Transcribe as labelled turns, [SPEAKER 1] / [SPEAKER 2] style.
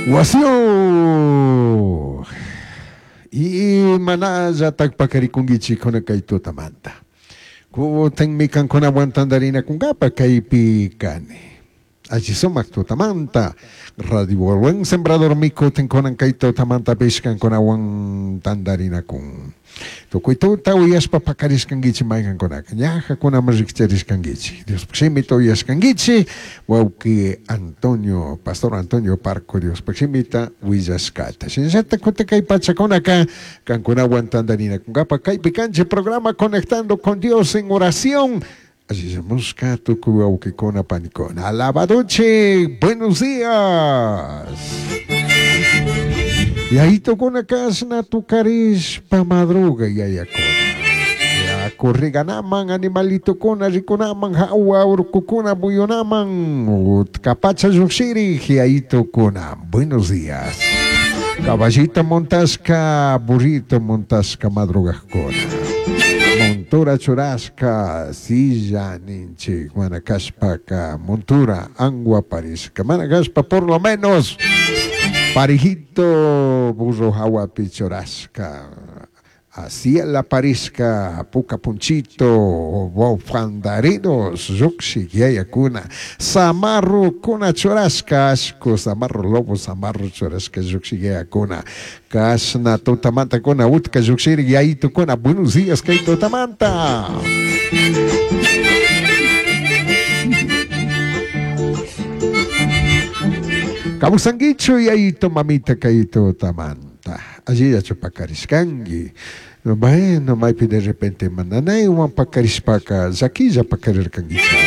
[SPEAKER 1] Wasiyuj imanallataj pakaricunguichijcuna kay tutamanta. Kutinmi kankunawan tandarinakunkapa kaypi kani. Alli sumak tutamanta Radio Buen Sembrador mi kutin kunan kay tutamantapish kankunawan tandarinakun. Tukuy tuta uyashpa pakarishkankichik maykankunaka ñajakunaman rikcharishkankichik. Diospaj shimita uyashkankichik wawqi Antonio, Pastor Antonio Parco Diospaj shimita willashkata. Shinallatak kutin kay pachakunaka kankunawan tandarinakunkapa kaypi kanchik programa Conectando con Dios en Oración. Allillamushka tukuy wawqikuna panikuna. Alabadochik, buenos días. Yayitukuna kashna tukarishpa madruga yayakuna. Yaku riganaman, animalitukuna rikunaman, hawa urkukuna muyunaman, utkapacha llujshirik yayitukuna. Buenos días. Caballito montashka, burrito montashka madrugajkuna. Montura churashka, silla ninchik, mana kashpaka, montura, angua parishka, mana kashpa por lo menos, parijito burro hawapi churashka, la parishka, puka punchito, bofandarinos, llukshik yayakuna, zamarro kuna churashka, ashku, zamarro lobo, zamarro churashka, llukshik yayakuna, kashna tutamanta kuna, utka llukshiri yayitukuna, buenos días kay tutamanta. Kawsankichu yayito mamita kay tutamanta. Allillachu pakarishkanki. Bueno, maypi de repente mananaywan pakarishpaka llakilla pakarirkankicha.